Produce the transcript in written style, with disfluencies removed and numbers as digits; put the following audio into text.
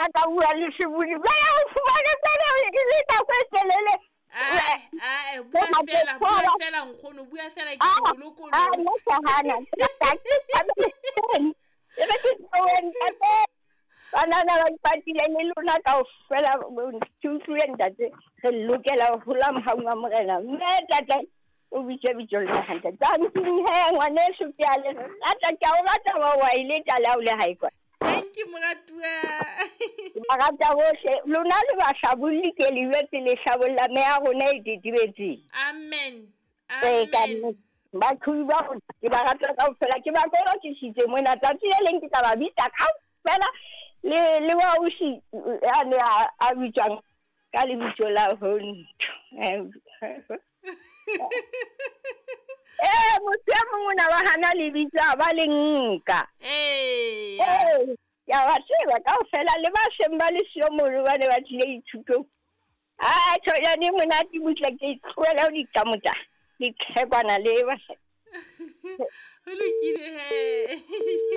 nna ka bua le sebodi ba ya o fumane fela e le nako e telele. Ae, ae, bua fela, bua fela nkgono, bua fela ke Ah, o lokolola. ah, nna ke hana. E re ke tlohe, ntate. Banana ba ipatile le lona kaofela, ke utlwile ntate, re lokela ho hola mohaung wa Morena. Mme ntate, o bitse bitso le hantle. Tanking he, ngwaneso, ke a le rata, ke a o rata wa wa ile tla o le hae kwa. Thank you, moratuwa. Ke ba rata bohle. Lona le bahlabolli ke le jwetse le hlabolla meya rona e tetebetseng. Amen. Ee, ka Amen. nnete. Baqhobi ba rona ke ba rata kaofela, ke ba kolokisitse mona. Tsatsi le leng ke tla ba bitsa kaofela le wa ausi a ne a bitswang ka lebitso la Hontho. Ee, motho e mong o na ba hana lebitso a ba le nka. Ee. Ee, ke a ba tseba kaofela le ba seng ba le siyo mono ba ne ba tlile ithutong. Ah, tjhonyane e monate butle ke tlohele ho diqamotsa ditlhekwana le basadi. Ho lokile he.